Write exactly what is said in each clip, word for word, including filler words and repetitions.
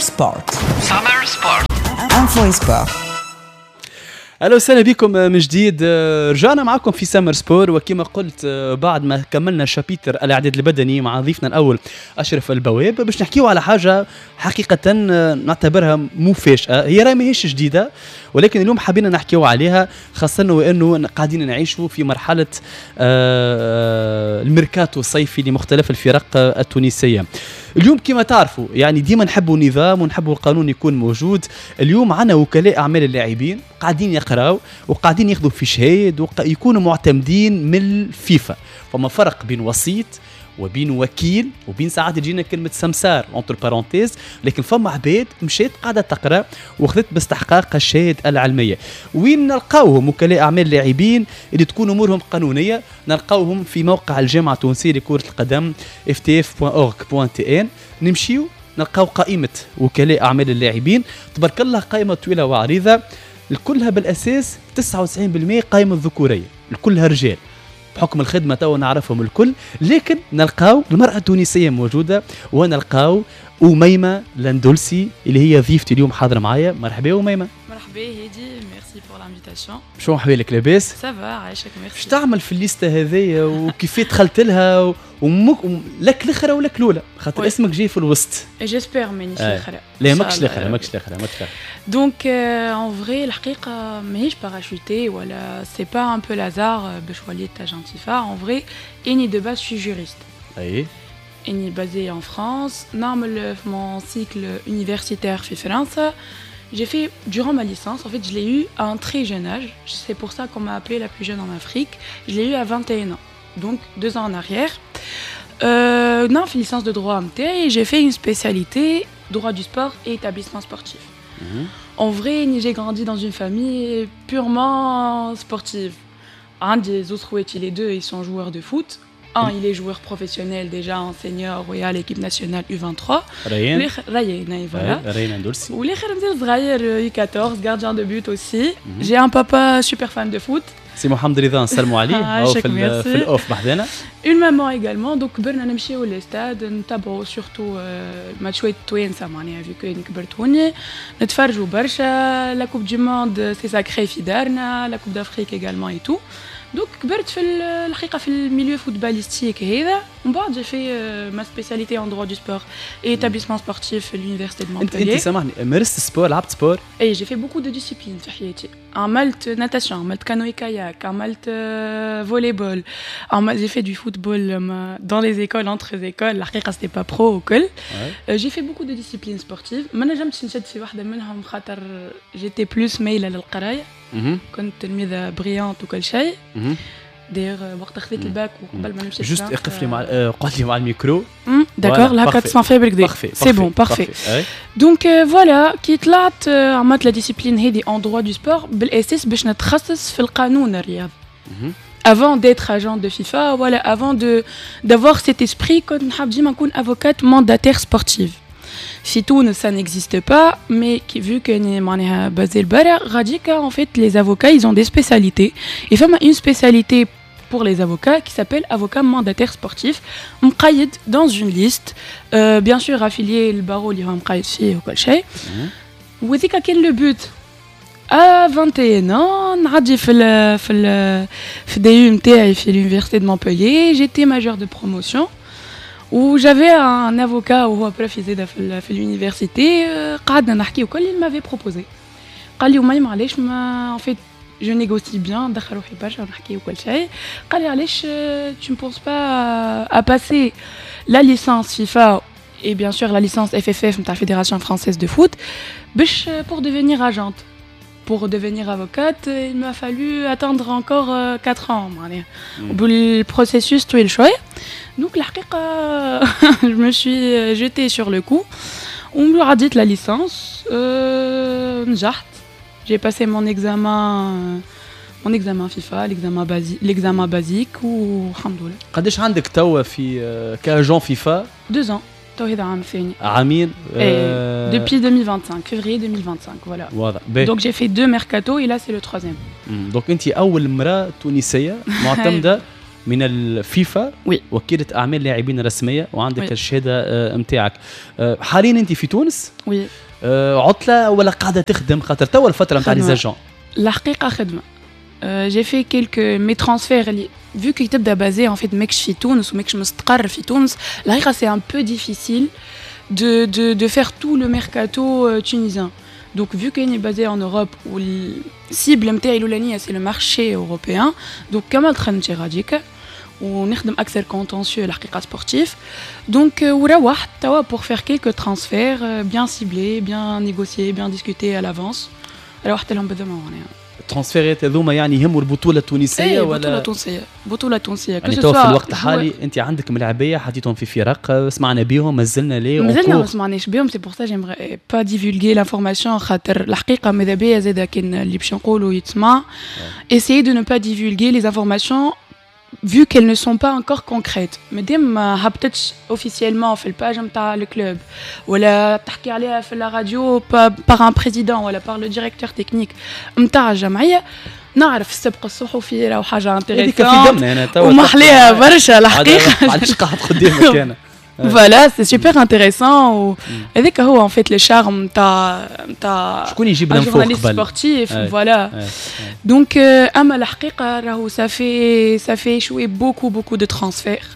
Sport. Summer Sport. Info Sport. اهلا وسهلا بكم من جديد، رجعنا معكم في Summer Sport. وكما قلت، بعد ما كملنا chapitre الاعداد البدني مع ضيفنا الاول اشرف البواب، باش نحكيو على حاجة حقيقة نعتبرها مفاجاه. هي راهي ماهيش جديده، ولكن اليوم حبينا نحكيو عليها، خاصة وانه قاعدين نعيشوا في مرحلة آه، الميركاتو الصيفي لمختلف الفرق التونسيه. اليوم كما تعرفوا، يعني ديما نحبوا نظام ونحبوا القانون يكون موجود. اليوم عندنا وكلاء اعمال اللاعبين قاعدين يقراوا وقاعدين ياخذوا في شهايد ويكونوا معتمدين من الفيفا. فما فرق بين وسيط وبين وكيل وبين ساعات تجينا كلمة سمسار entre parenthèses، لكن فما عباد مشات قاعدة تقرا وخذت باستحقاق الشهادة العلميه. وين نلقاوهم وكلاء اعمال لاعبين اللي تكون امورهم قانونيه؟ نلقاوهم في موقع الجامعة التونسية لكرة القدم إف تي إف دوت أورغ دوت تي إن. نمشيو نلقاو قائمة وكلاء اعمال اللاعبين، تبارك الله قائمة طويلة وعريضه، الكلها بالاساس تسعة وتسعين بالمية قائمة ذكوريه، الكلها رجال بحكم الخدمة تو نعرفهم الكل، لكن نلقاو المراة التونسية موجودة ونلقاو اميمة لندلسي اللي هي ضيفتي اليوم حاضره معايا. مرحبا اميمه. مرحبا هادي، merci pour l'invitation. شو احوالك؟ لاباس؟ ça va، عايشك، ميرسي. اش تعمل في الليستة هذيا وكيف دخلت لها؟ ومك لك الاخرى ولا الاولى؟ خاطر اسمك جاي في الوسط. j'espère مانيش الاخرى. لا، ماكش الاخرى، ماكش الاخرى، ماكش الاخرى. donc en vrai الحقيقة ماهيش parachutée ولا c'est pas un peu le hasard باش وليت agent FIFA. en vrai اني de base je suis juriste. اي اني basée en France، نعمل mon cycle universitaire في فرنسا. J'ai fait, durant ma licence, en fait, je l'ai eu à un très jeune âge. C'est pour ça qu'on m'a appelée la plus jeune en Afrique. Je l'ai eu à vingt et un ans, donc deux ans en arrière. Euh, non, fait licence de droit et j'ai fait une spécialité droit du sport et établissement sportif. Mhm. En vrai, j'ai grandi dans une famille purement sportive. عندي زوز خواتي, les deux, ils sont joueurs de foot. Un, il est joueur professionnel déjà en senior à l'équipe nationale U vingt-trois. ريان. ريان, voilà. ريان اندلسي. والآخر مازال صغير U quatorze, gardien de but aussi. J'ai un papa super fan de foot. سي محمد رضا، نسلموا عليه، هو في في ال off بحذانا. Une maman également، donc كبرنا نمشيو les stades، نتبعوا surtout ماتشوات التوانسه، معناها vu que كبرت هوني نتفرجوا برشا. la Coupe du monde c'est sacré في دارنا، la Coupe d'Afrique également et tout. donc كبرت في الحقيقة في ال milieu footballistique هذا. ومن بعد j'ai fait ma spécialité en droit du sport et établissement sportif في l'université de انت انت سامحني، مارست sport؟ لعبت sport؟ اي، j'ai fait beaucoup de disciplines في حياتي. عملت natation، عملت canoë-kayak، عملت volley-ball، عملت j'ai fait du football dans les écoles، entre écoles، الحقيقة c'était pas pro وكل. j'ai fait beaucoup de disciplines sportives. ما نجمتش نشد في واحدة منهم خاطر j'étais plus مايلة للقرايه، كنت تلميذه brillante وكل شيء. d'ailleurs وقت خذيت الباك وقبل ما نمشي juste اقف لي مع قعد لي مع ال micro. d'accord، هكا تسمع فيا بالكدا؟ c'est bon، parfait. donc voilà، كي طلعت عملت la discipline هذه en droit du sport بالاساس باش نتخصص في القانون الرياضي. avant d'être agent de FIFA، voilà، avant de d'avoir cet esprit، كنت نحب ديما نكون avocate mandataire sportive. في تونس ça n'existe pas، mais vu que معناها basée البرا غاديكا، en fait les avocats ils ont des spécialités et فما une spécialité pour les avocats qui s'appelle avocat mandataire sportif، مقيد dans une liste، euh, bien sûr affilié le barreau اللي هو مقيد فيه وكل شيء. وذيك كان le but. à vingt et un ans نعدي في ال في ال في ال D U نتاعي في l'université de Montpellier، j'étais major de promotion و j'avais un avocat وهو prof زاده في, في l'université. قعدنا نحكي وكل، il m'avait proposé، قال لي أميمة علاش ما en fait je négocie bien، ندخل روحي برشا ونحكي وكل شيء. قال لي علاش tu ne penses pas à passer la licence FIFA et bien sûr la licence F F F نتاع Fédération française de foot باش pour devenir agente؟ pour devenir avocate il m'a fallu attendre encore quatre ans، معناها بال processus طويل شويه. donc الحقيقة je me suis jetée sur le coup ومن عديت la licence، نجحت، j'ai passé mon examen mon examen FIFA، l'examen basique l'examen basique والحمد لله. قداش عندك توا في ك agent FIFA؟ deux ans، تو هذا عام ثاني. عامين. آه depuis deux mille vingt-cinq، février deux mille vingt-cinq، voilà. واضح. donc j'ai fait deux mercato et là c'est le troisième. donc انت اول امراة تونسية معتمدة من الفيفا. oui. وكيلة اعمال لاعبين رسميه، وعندك الشهادة نتاعك. حاليا انت في تونس؟ oui. عطله ولا قاعدة تخدم؟ خاطر توا الفترة نتاع les agents. الحقيقة خدمه. j'ai fait quelques mes transferts اللي vu que تبدا basé en fait ماكش في تونس وماكش مستقر في تونس، الحقيقة c'est un peu difficile de de de faire tout le mercato tunisien. Donc vu qu'elle est basée en Europe où la cible نتاعي الاولانية c'est le marché européen، donc كملت خدمتي غاديك ونخدم اكثر contentieux الحقيقة sportif. donc وروحت توا pour faire quelques transferts bien ciblés، bien négociés، bien discutés à l'avance. روحت لهم بالضمان معناها. ال transfertات هذوما يعني يهموا البطولة التونسيه؟ ايه، ولا بطوله تونسيه، بطوله تونسيه. يعني تو في الوقت الحالي انت عندك ملاعبيه حطيتهم في فرق سمعنا بيهم؟ مازلنا ليه؟ مازلنا ما سمعناش بيهم، c'est pour ça j'aimerais pas divulguer l'information، خاطر الحقيقة ماذا بيا زاده كان اللي باش نقولوا يتسمع، essayer de ne pas divulguer les informations vu qu'elles ne sont pas encore concrètes. مادام ما هبطتش officiellement في ال page نتاع ال club ولا تحكي عليها في la radio par un président ولا par le directeur technique نتاع الجمعيه. نعرف السبق الصحفي راهو حاجة هذيك في دمنا انا توا ومحليها برشا الحقيقه. علاش قاعد قدامك انا؟ voilà، c'est super intéressant. هذاك هو en fait le charme نتاع نتاع شكون يجيب l'info قبل؟ sportif، voilà. donc اما الحقيقة راهو ça fait ça fait شوي beaucoup beaucoup de transferts،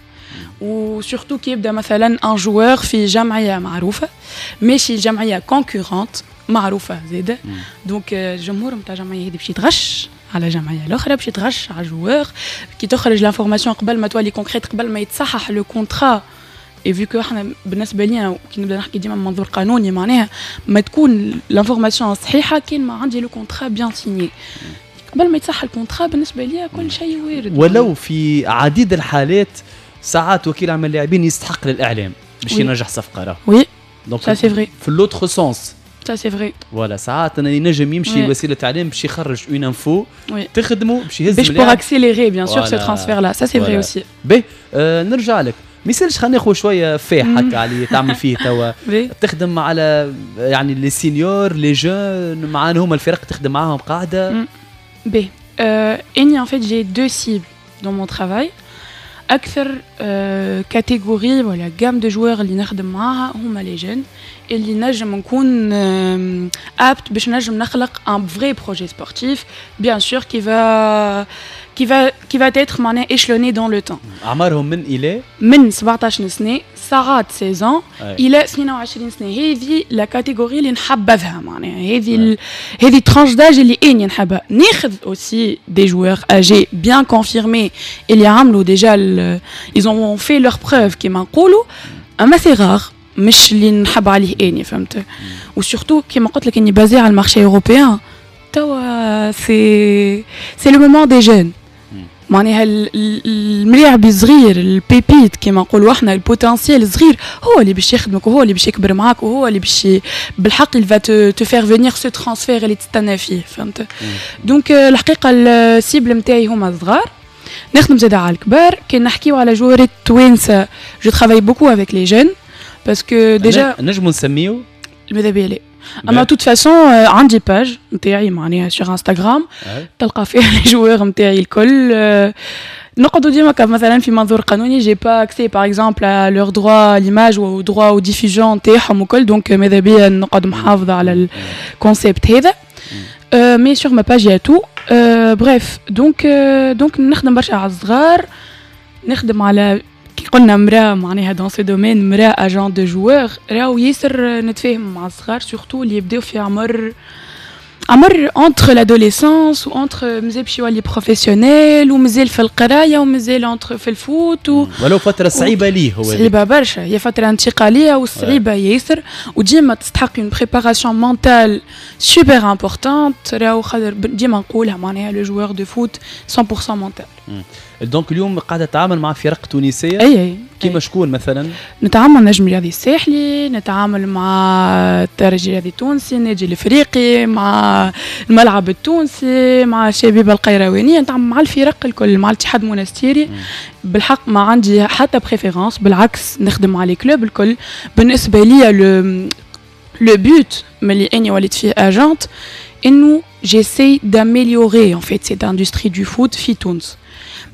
و surtout كي يبدا مثلا un joueur في جمعية معروفة ماشي جمعية concurrente معروفة زاده، donc الجمهور نتاع الجمعية هذه باش يتغش على الجمعية الاخرى، باش يتغش على joueur كي تخرج l'information قبل ما تولي concrète، قبل ما يتصحح le contrat. et vu que احنا بالنسبة لينا كي نبدا نحكي ديما من منظور قانوني، معناها ما تكون l'information صحيحه كان ما عندي le contrat bien signé. قبل ما يتصح ال contrat بالنسبة ليا كل شيء وارد. ولو في عديد الحالات ساعات وكيل اعمال اللاعبين يستحق للاعلام باش ينجح صفقة راه. oui، ça c'est vrai. في l'autre sens. ça c'est vrai. voilà، ساعات انا ينجم يمشي لوسيله اعلام باش يخرج une info تخدمه باش يهز باش pour accélérer bien sûr ce transfert-là، ça c'est vrai aussi. باهي، آه نرجع لك، ما يسالش خلينا ناخذ شوية فاح هكا على اللي تعمل فيه توا. تخدم على يعني les seniors، les jeunes، معانا هما الفرق تخدم معاهم قاعده؟ باهي، اني en fait j'ai deux cibles dans mon travail. اكثر catégorie ولا gamme de joueurs اللي نخدم معاها هما les jeunes اللي نجم نكون apte باش نجم نخلق un vrai projet sportif bien sûr qui va qui va qui va être معناها échelonné dans le temps. اعمارهم من الى؟ من سبعطاش سنه، ساعات ستاش الى اثنين وعشرين سنه. هذه la catégorie اللي نحبذها، معناها هذه ال... هذه tranche d'âge اللي اني نحبها. ناخذ aussi des joueurs âgés bien confirmés اللي عملوا déjà، ils ont fait leurs preuves كيما نقولوا، اما c'est rare، مش اللي نحب عليه اني، فهمت؟ و surtout كيما قلت لك اني basée على ال marché européen. توا c'est c'est le moment des jeunes، معناها الملاعب الصغير، ال pépite كيما نقولوا احنا، ال potentiel الصغير هو اللي باش يخدمك وهو اللي باش يكبر معاك وهو اللي باش بالحق il va te, te faire venir ce transfert اللي تستنى فيه، فهمت؟ donc الحقيقة ال cible نتاعي هما الصغار، نخدم زاده على الكبار. كي نحكيو على joueurات توانسه، je travaille beaucoup avec les jeunes parce que déjà نجمو نسميو؟ ماذا بيا لا، اما toute façon عندي page نتاعي معناها sur Instagram تلقى فيها les joueurs نتاعي الكل. نقعدوا ديما مثلا في منظور قانوني، j'ai pas accès par exemple à leurs droits l'image و droits aux diffusion نتاعهم وكل، donc ماذا بيا نقعد محافظة على ال concept هذا، mais sur ma page y a tout. bref، donc donc نخدم برشا على الصغار، نخدم على كي قلنا مراة معناها dans ce domaine، مراة agent de joueurs، راهو ياسر نتفاهم مع الصغار، surtout اللي يبداو في عمر عمر entre l'adolescence و entre مازال باش يولي professionnel ومازال في القراية ومازال entre في ال foot و ولو فترة صعيبة ليه هو. صعيبة برشا، هي فترة انتقالية وصعيبه ياسر وديما تستحق une préparation mentale super importante. راهو خاطر ديما نقولها معناها le joueur de foot مية بالمية mental. donc اليوم قاعدة تتعامل مع فرق تونسيه؟ اي اي. كيما شكون مثلا؟ نتعامل مع النجم الرياضي الساحلي، نتعامل مع الترجي الرياضي التونسي، النادي الافريقي، مع الملعب التونسي، مع الشبيبة القيروانيه، نتعامل مع الفرق الكل، مع الاتحاد المونستيري. بالحق ما عندي حتى préférence، بالعكس نخدم مع les clubs الكل. بالنسبة لي le le but ملي اني وليت فيه agente انه j'essaie d'améliorer en fait cette industrie du foot في تونس.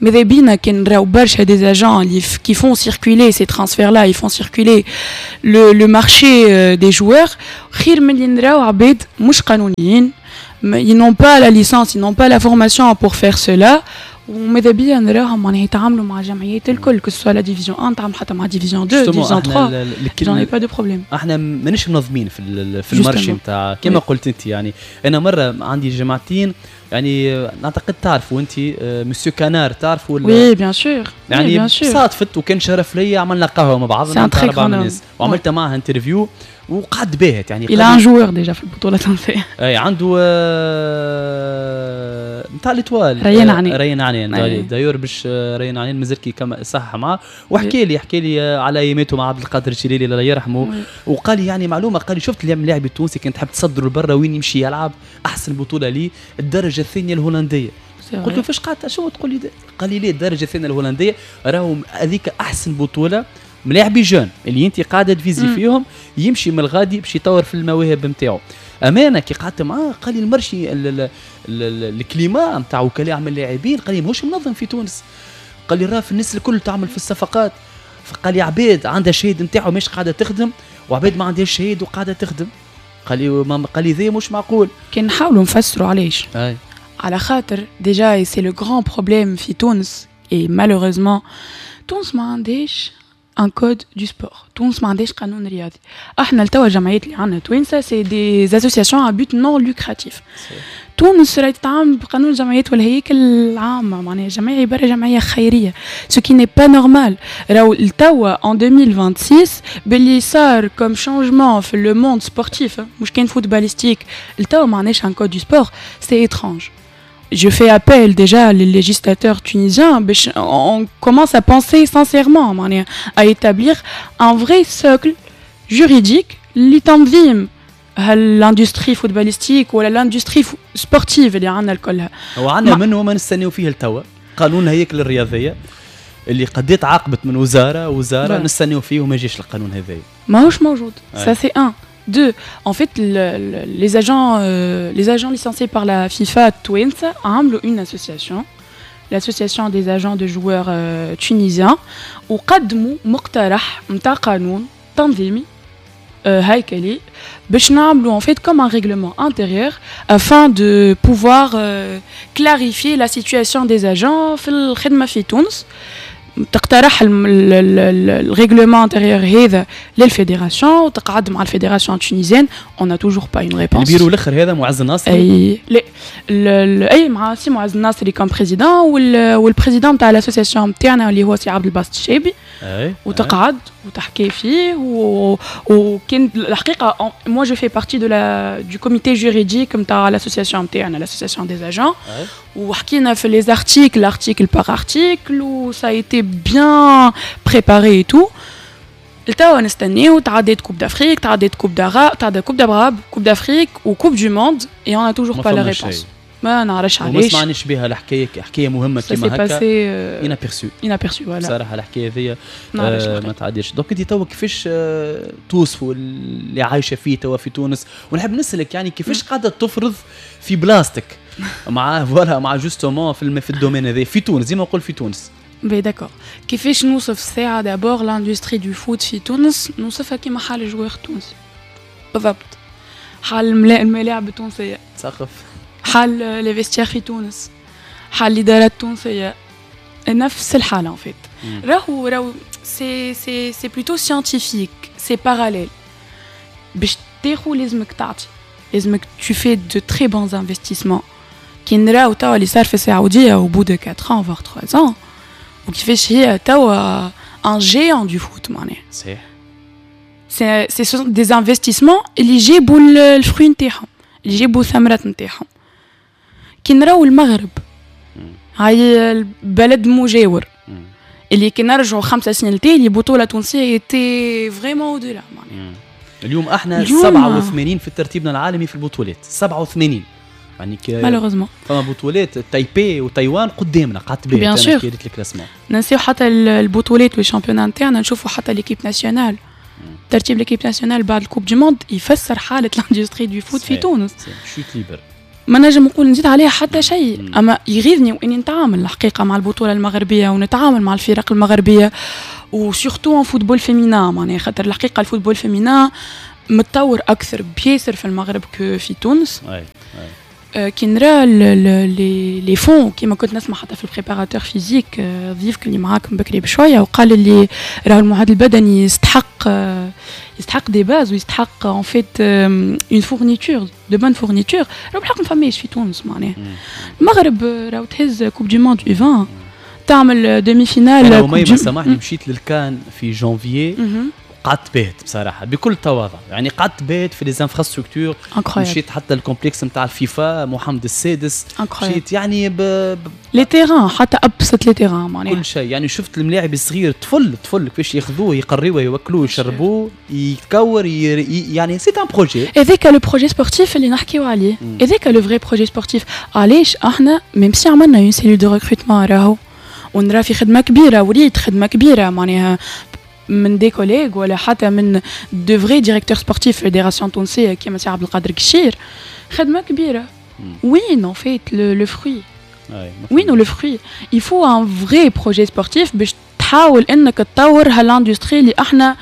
ماذا بينا كان نراو برشا des agents اللي qui font circuler ces transferts-là, ils font circuler le le marché des joueurs، خير من اللي نراو عباد مش قانونيين، ils n'ont pas la licence, ils n'ont pas la formation pour faire cela. وماذا بيا نراهم معناها يتعاملوا مع الجمعيات الكل، que ce soit la division un، تعامل حتى مع division deux، division trois، j'en ai pas de problème. احنا مانيش منظمين في في ال marché نتاع كما قلت انت. يعني انا مرة عندي جماعتين، يعني نعتقد تعرفوا انت مسيو كانار، تعرفوا؟ oui bien sûr. يعني صادفت وكان شرف ليا، عملنا قهوة مع بعضنا اربع الناس وعملت معاه interview وقعد باهت يعني. il a un joueur déjà في البطولة التونسيه. اي عنده نتاع l'Étoile. ريان عنان. ريان عنان d'ailleurs، باش ريان عنان مازال كي كما صح معاه وحكى لي حكى لي على اياماته مع عبد القادر الجليلي الله يرحمه، وقال لي يعني معلومه، قال لي شفت اللاعب التونسي كان تحب تصدره لبرا وين يمشي يلعب، احسن بطوله ليه الدرجة الثانية الهولنديه. قلت له فاش قاعد شو تقول لي؟ قال لي ليه الدرجة الثانية الهولنديه؟ راهو هذيك احسن بطوله ملاعبي jeunes اللي انت قاعدة تفيزي فيهم، يمشي من الغادي باش يطور في المواهب نتاعو. امانه كي قعدت معاه قال لي ال marché ال climat نتاع وكلاء اعمال اللاعبين قال لي ماهوش منظم في تونس. قال لي راه في الناس الكل تعمل في الصفقات، فقال لي عباد عندها شهيد نتاعو مش قاعدة تخدم وعباد ما عندهاش شهيد وقاعدة تخدم. قال لي ما قال لي ذي مش معقول. كي نحاولوا نفسروا علاش، على خاطر déjà c'est le grand problème في تونس et malheureusement تونس ما عندهاش un code du sport، تونس ما عندهاش قانون رياضي. احنا لتوا الجمعيات اللي عندنا توانسة c'est des associations à but non lucratif. تونس راهي تتعامل بقانون الجمعيات والهياكل العامه، معناها جمعية عبارة جمعية خيريه، ce qui n'est pas normal. راهو لتوا en deux mille vingt-six باللي صار comme changement في le monde sportif، مش كان footballistique، لتوا ما عندناش un code du sport، c'est étrange. je fais appel déjà les législateurs tunisiens باش on commence à penser sincèrement معناها à établir un vrai socle juridique لتنظيم l'industrie footballistique ولا l'industrie sportive اللي عندنا الكلها. وعندنا منه ما نستناو فيه لتوا، قانون الهياكل الرياضية اللي قد تعاقبت من وزارة وزارة نستناو فيه وما جاش القانون هذا. ماهوش موجود، ça c'est un. Deux, en fait, le, le, les agents, euh, les agents licenciés par la FIFA توانسة عملوا une association, l'association des agents de joueurs euh, tunisiens، وقدموا مقترح نتاع قانون تنظيمي هيكلي باش نعملوا en fait comme un règlement intérieur afin de pouvoir euh, clarifier la situation des agents في الخدمة في تونس. تقترح ال règlement intérieur هذا لل fédération وتقعد مع ال fédération tunisienne، on a toujours pas une réponse. البيرو الاخر هذا معز الناصري؟ اي لا اي مع سي معز الناصري comme président وال président تاع l'association نتاعنا اللي هو سي عبد الباسط الشابي. اي وتقعد وتحكي فيه و... وكان الحقيقة moi je fais partie de la du comité juridique نتاع l'association نتاعنا، l'association des agents، وحكينا في les articles، article par article، و ça a été bien préparé et tout. لتوا نستناو، تعديت Coupe d'Afrique، تعديت Coupe d'Arabe، تعديت Coupe d'Arabe، Coupe d'Afrique و Coupe du Monde et on a toujours pas la réponse. ما نعرفش علاش. وما سمعناش بها الحكايه، حكاية مهمة كيما هكا inaperçue. inaperçue voilà. بصراحة الحكاية هذيا آه ما تعديش. donc انت توا كيفاش آه توصفوا اللي عايشه فيه توا في تونس؟ ونحب نسالك يعني كيفاش قاعدة تفرض في بلاصتك مع voilà مع justement في في ال domaine هذا في تونس، زي ما نقول في تونس. باهي d'accord، كيفاش نوصف الساعة d'abord l'industrie du foot في تونس؟ نوصفها كيما حال ال joueur التونسي بالضبط، حال الملاعب التونسية. تسخف. حال les vestiaires في تونس، حال الإدارات التونسية، نفس الحالة en fait. راهو راهو c'est c'est c'est plutôt scientifique، c'est parallèle. باش تاخو لازمك تعطي، لازمك tu fais de très bons investissements. كي نراو توا اللي صار في السعودية au bout de quatre ans voire trois ans، وكيفاش هي توا un géant du foot معناها. صحيح. c'est c'est des investissements اللي جابوا ال fruit نتاعهم، اللي جابوا الثمرات نتاعهم. كي نراو المغرب، هاي البلد مجاور، اللي كي نرجعوا خمسة سنين لتالي بطولة تونسية était vraiment au-delà معناها. اليوم احنا اليوم سبعة وثمانين في ترتيبنا العالمي في البطولات، سبعة وثمانين يعني. malheureusement. فما بطولات تايبي وتايوان قدامنا، قعدت bien sûr كي ال classement. ننسيو حتى البطولات وال championnats نتاعنا، نشوفوا حتى l'équipe nationale، ترتيب l'équipe nationale بعد ال Coupe du Monde يفسر حاله l'industrie du foot في تونس. chute libre. ما نجم نقول نزيد عليها حتى شيء. اما يغيظني واني نتعامل الحقيقة مع البطولة المغربية ونتعامل مع الفرق المغربية و surtout en football féminin، معناها خاطر الحقيقة ال football féminin متطور اكثر بياسر في المغرب que في تونس. أي. أي. كي نرى les les fonds، كيما كنت نسمع حتى في ال préparateur physique ضيفك اللي معاكم بكري بشويه، وقال اللي راهو المعد البدني يستحق يستحق des bases ويستحق en fait une fourniture، de bonnes fournitures. راهو بالحق ما فماش في تونس. معناها المغرب راهو تهز coupe du monde U vingt، تعمل demi-finale. انا سامحني، مشيت للكان في جانفيي، قعدت باهت بصراحة بكل تواضع، يعني قعدت باهت في les infrastructures. مشيت حتى ال complexe نتاع الفيفا محمد السادس، مشيت يعني ب... ب... les terrains، حتى ابسط les terrains معناها كل شيء. يعني شفت الملاعب الصغير، طفل طفل كيفاش ياخذوه، يقريوه، يوكلوه، يشربوه، يتكور، ي... يعني c'est un projet. هذاك le projet sportif اللي نحكيو عليه، هذاك le vrai projet sportif. علاش احنا même si عملنا une cellule de recrutement راهو ونرى في خدمة كبيره، وريت خدمة كبيرة معناها من des collègues ولا حتى من de vrais directeurs sportifs fédération تونسية كيما سي عبد القادر كشير، خدمة كبيره. وين en fait le fruit؟ وين le fruit؟ il faut un vrai projet sportif باش تحاول انك تطور هال industrie اللي احنا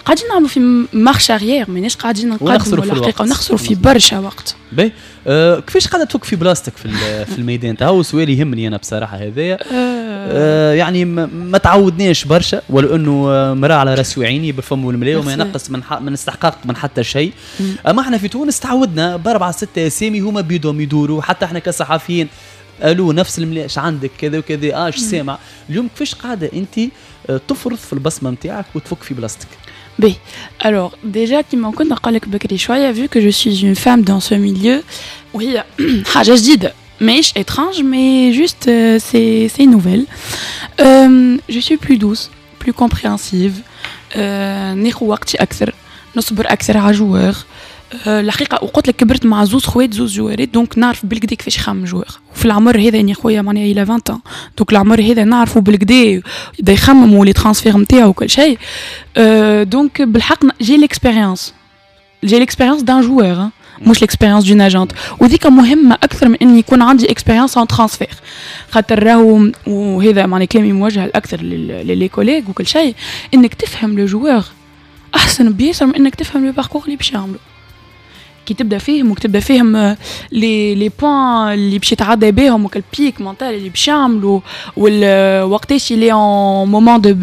قاعدين نعملوا في marche arrière، ماناش قاعدين نقدموا الحقيقه، ونخسروا في برشا وقت. باهي، أه كيفاش قاعدة تفك في بلاصتك في في الميدان؟ هو سؤال يهمني انا بصراحة هذايا. أه يعني ما تعودناش برشا، ولو انه مراة على راسي وعيني بالفم والملا وما ينقص من من استحقاق من حتى شيء، اما احنا في تونس تعودنا باربعة ستة اسامي هما بيدهم يدوروا، حتى احنا كصحفيين قالوا نفس الملا، اش عندك كذا وكذا، اه اش سامع اليوم. كيفاش قاعدة انت تفرض في البصمة نتاعك وتفك في بلاصتك؟ باهي. Alors, déjà, كيما كنت نقول بكري شوية, vu que je suis une femme dans ce milieu, وهي حاجة جديدة، ماهيش étrange, mais juste euh, c'est c'est nouvelle. Euh, je suis plus douce, plus compréhensive. Euh, ناخذ وقتي أكثر، نصبر أكثر على joueur. الحقيقة وقلت لك كبرت مع زوز خوات، زوز جوارات، donc نعرف بالقدا كيفاش يخمم joueur. وفي العمر هذا يعني خويا معناها il a عشرين، donc العمر هذا نعرفه بالقدا يبدا يخمم و les transferts نتاعو وكل شيء. donc بالحق j'ai l'expérience j'ai l'expérience d'un joueur، مش l'expérience d'une agente، وذيك مهمة اكثر من اني يكون عندي expérience en transfert. خاطر راهو، وهذا معناها كلامي موجه الاكثر les collègues وكل شيء، انك تفهم le joueur احسن بياسر من انك تفهم le parcours اللي باش يعملو. كي تبدا فيهم وتبدا فيهم les les points اللي باش يتعدى بهم وكل pic mental اللي باش يعملوا، وقتاش il est en moment de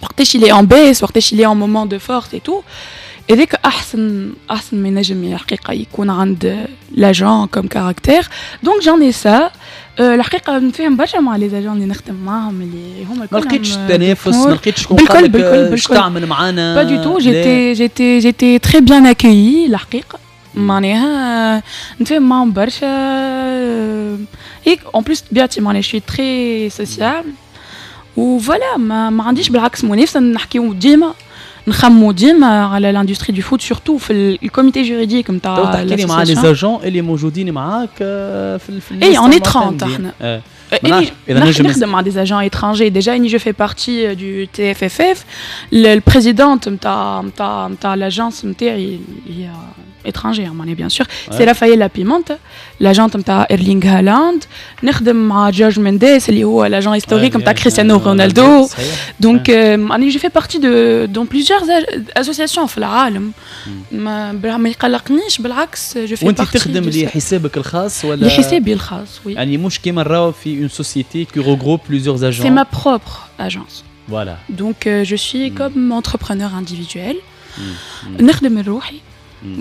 وقتاش il est en baisse، وقتاش il est en moment de force et tout، هذاك احسن احسن ما ينجم الحقيقة يكون عند l'agent comme caractère. donc j'en ai ça. الحقيقة نفهم برشا مع les agents اللي نخدم معاهم، اللي هما ما لقيتش التنافس؟ ما لقيتش شكون بالكل بالكل بالكل تعمل معانا؟ pas du tout، j'étais j'étais j'étais très bien accueillie الحقيقه، معناها نتفاهم معاهم برشا. هيك en plus طبيعتي معناها je suis très sociable و voilà، ما, ما عنديش بالعكس منافسه، نحكيو ديما، نخمو ديما على l'industrie du foot، surtout في ال comité juridique نتاع. تحكي لي مع les agents اللي موجودين معاك في في اي، on est ثلاثين احنا. اذا نجم نخدم مع des agents étrangers. déjà اني je fais partie du TFFF، ال présidente نتاع نتاع نتاع l'agence نتاعي هي étrangère معناها bien sûr، c'est Rafaela Pimenta، l'agente نتاع ايرلينغ هالاند. نخدم مع جورج مينديس اللي هو l'agent historique نتاع كريستيانو رونالدو. donc انا je fais partie de dans plusieurs associations في العالم، ما ما يقلقنيش، بالعكس je fais. وانت تخدم لحسابك الخاص ولا؟ لحسابي الخاص، oui. يعني مش كيما نراو في une société qui regroupe plusieurs agents؟ c'est ma propre agence. Voilà. Donc euh, je suis mm. comme entrepreneur individuel. نخدم روحي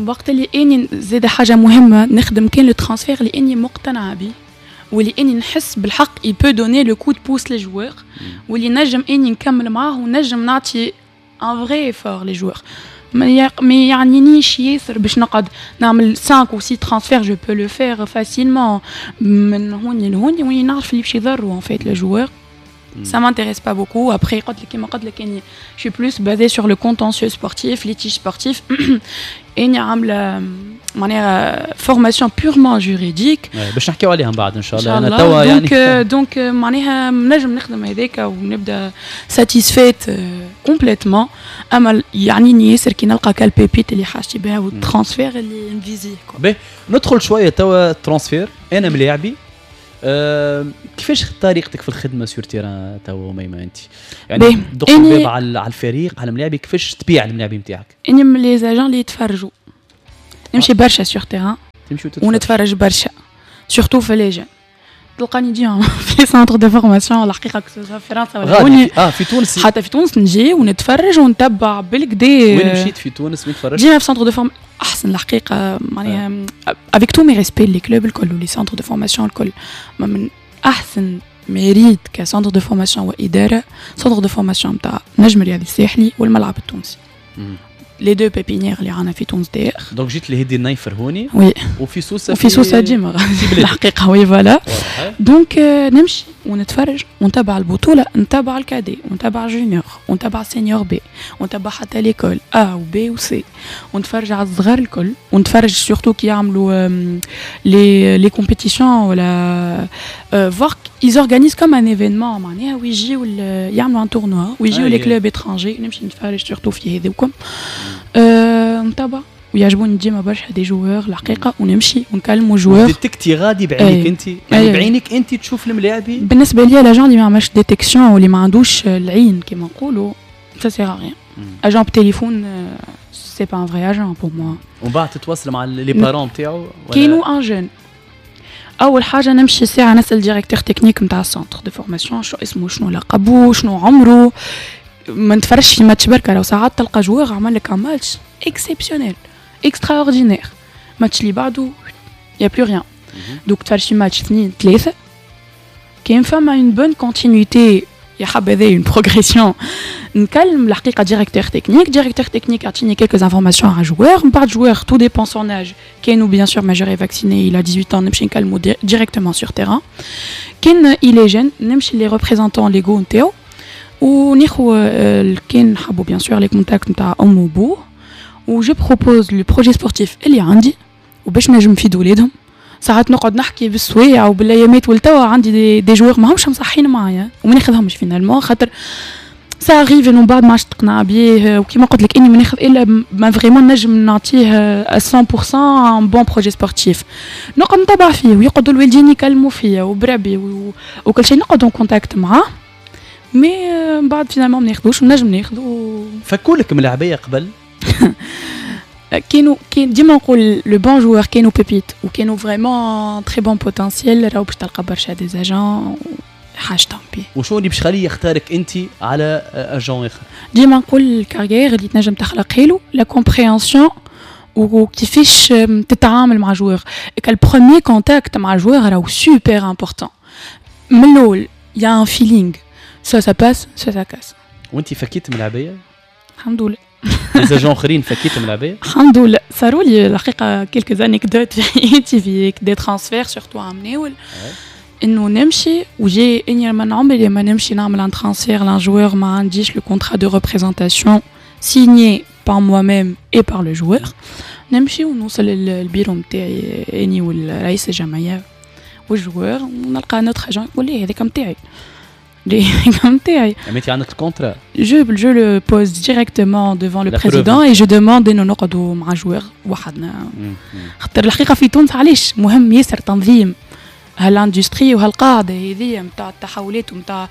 وقت اللي اني زاد حاجة مهمه، نخدم كان le transfert اللي اني مقتنعة به واللي اني نحس بالحق il peut donner le coup de pouce les joueurs، واللي نجم اني نكمل معاه ونجم نعطي un vrai effort les joueurs. ما يعنينيش ياسر باش نقعد نعمل خمسة ou six transferts، je peux le faire facilement من هوني لهوني، وين نعرف اللي باش يضروا en fait le joueur ça m'intéresse pas beaucoup. Après, كيما قلت لك je suis plus basée sur le contentieux sportif, litige sportif. اني عامله معناها formation purement juridique. باش نحكيو عليها من بعد ان شاء الله. انا توا يعني donc donc معناها نجم نخدم هذاك ونبدا satisfaite complètement، اما يعنيني ياسر كي نلقى كال pépite اللي حاجتي بها وال transfert اللي نفيزيه. باهي، ندخل شوية توا transfert. انا ملاعبي، أه كيفاش طريقتك في الخدمة sur terrain توا ميمه انت؟ يعني دق الباب على الفريق، على الملاعبي، كيفاش تبيع الملاعبي نتاعك؟ اني من les agents اللي يتفرجوا، نمشي برشا sur terrain ونتفرج برشا surtout في les jeunes. تلقاني ديما في centres de formation الحقيقه، que ce soit في فرنسا ولا هوني. اه في تونس؟ حتى في تونس نجي ونتفرج ونتبع بالكدا. وين مشيت في تونس؟ وين تفرجت؟ ديما في centre de form احسن الحقيقه، معناها avec tous mes respects les clubs الكل و les centres de formation الكل، من احسن ما ريت ك centre de formation واداره، centre de formation نتاع نجم الرياضي الساحلي والملعب التونسي، les deux pépinières اللي عندنا في تونس داير. donc جيت لهدي النيفر هوني؟ oui. وفي سوسه؟ وفي سوسة ديما الحقيقه، oui voilà. donc نمشي ونتفرج ونتابع البطوله، نتابع ال cadets ونتابع junior ونتابع senior B ونتابع حتى l'école A و B و C، ونتفرج على الصغار الكل، ونتفرج surtout كي يعملوا les les compétitions ولا voir ils organisent comme un événement، معناها ويجيو يعملوا un tournoi ويجيو les clubs étrangers، نمشي نتفرج surtout في هذوكم. أه نتابع ويعجبوني ديما برشا des joueurs الحقيقه، ونمشي ونكلموا joueurs. détecter غادي بعينك انت يعني؟ أيه. بعينك انت تشوف الملاعبي؟ بالنسبة لي l'agent اللي ما عملش détection واللي ما عندوش العين كيما نقولوا، ça sert à rien. agent بتليفون c'est pas un vrai agent pour moi. ومن بعد تتواصل مع les parents نتاعو؟ كاينو un jeune، اول حاجة نمشي ساعة نسال directeur technique نتاع ال centre de formation شو اسمه، شنو لقبو، شنو عمره. ما نتفرجش في ماتش بركه، لو ساعات تلقى joueur عمل لك match exceptionnel extraordinaire، match اللي بعده y a plus rien. donc تفرج في ماتش اثنين ثلاثه، كاين فما une bonne continuité، يا حبذا une progression، نكلم الحقيقة directeur technique. directeur technique يعطيني quelques informations على joueur. من بعد joueur tout dépend son âge، كانوا bien sûr majeur et vacciné، il a dix-huit ans، نمشي نكلمو directement sur terrain. كان il est jeune، نمشي les représentants légaux نتاعو وناخو كان حبوا bien sûr les contacts نتاع ام وبوه، و je propose le projet sportif اللي عندي وباش نجم نفيد ولادهم. ساعات نقعد نحكي بالسوايع وبالايامات، والتوا عندي des, des joueurs ماهمش مصحين معايا وما ناخذهمش finalement، خاطر ça arrive انه بعد ما عادش تقنع بيه. وكيما قلت لك اني ما ناخذ الا ما vraiment نجم نعطيه مية بالمية un bon projet sportif. نقعد نتبع فيه ويقعدوا الوالدين يكلموا فيا وبربي وكل شيء، نقعد en contact معاه، mais من بعد finalement ما ناخذوش ونجم ناخذو. فكولك ملاعبيه قبل؟ كانوا كان ديما نقول le bon joueur كانوا pépite وكانوا vraiment très bon potentiel، راهو باش تلقى برشا des agents حاجتهم بيه. وشو اللي باش يخليه يختارك انت على agent اخر؟ ديما نقول ال carrière اللي تنجم تخلقها له، la compréhension وكيفاش تتعامل مع joueur. ال premier contact مع joueur راهو super important. من الاول y a un feeling، ça ça passe ça ça casse. وانت فكيت ملاعبيه؟ الحمد لله. les agents اخرين فكيت ملاعبيه؟ الحمد لله. صاروا لي الحقيقة quelques anecdotes في حياتي في des transferts surtout عام ناول، انه نمشي وجي اني من عمري ما نمشي نعمل un transfert ل un joueur ما عنديش le contrat de représentation signé par moi-même et par le joueur. نمشي ونوصل للبيرو نتاعي اني والرئيس الجمعية وال joueur، ونلقى un autre agent يقول لي هذاك نتاعي، هذاك نتاعي. انت عندك ال contrat؟ je je le pose directement devant le président et je demande انه نقعدوا مع joueur وحدنا، خاطر الحقيقة في تونس علاش مهم ياسر تنظيم هال industrie وهالقاعده هذيا نتاع التحولات ونتاع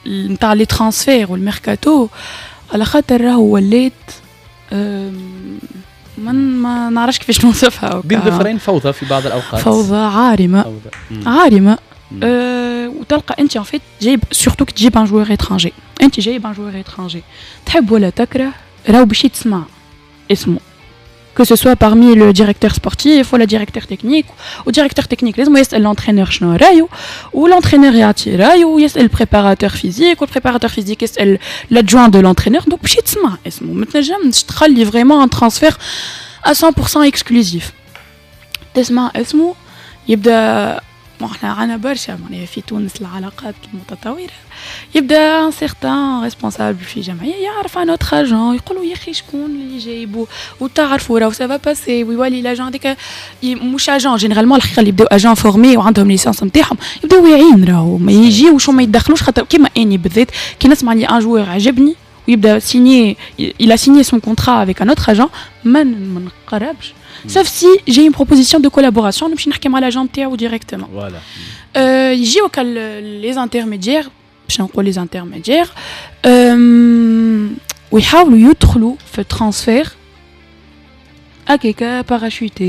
نتاع les transferts وال mercato، على خاطر راهو ولات من ما نعرفش كيفاش نوصفها. بين ظفرين فوضى في بعض الاوقات. فوضى عارمه، فوضى. عارمة. أه وتلقى انت en fait جايب surtout كي تجيب un joueur étranger، انت جايب un joueur étranger تحب ولا تكره راهو باش تسمع اسمه، que ce soit parmi le directeur sportif ou le directeur technique. و directeur technique لازم يسأل l'entraîneur شنو رايو، و l'entraîneur يعطي رايو، ويسأل préparateur physique، و préparateur physique يسأل l'adjoint de l'entraîneur. donc باش تسمع اسمه، ما تنجمش تخلي vraiment un transfert à cent pour cent exclusif. تسمع اسمه يبدا احنا عندنا برشا معناها في تونس العلاقات المتطوره، يبدا un certain responsable في جمعية يعرف un autre agent، يقولوا يا اخي شكون اللي جايبو وتعرفوا راهو ça va passer، ويولي l'agent هذاك مش agent. généralement الحقيقة اللي يبداو agents formés وعندهم licence نتاعهم يبداو واعيين، راهو ما يجيوش وما يدخلوش، خاطر كيما اني بالذات كي نسمع لي un joueur عجبني ويبدا signé، il a signé son contrat avec un autre agent، ما ما نقربش sauf si j'ai une proposition de collaboration، نمشي نحكي مع l'agent نتاعو directement. voilà. يجيو les intermédiaires، باش نقول les intermédiaires، ويحاولوا يدخلوا في transfert هكاكا parachuté.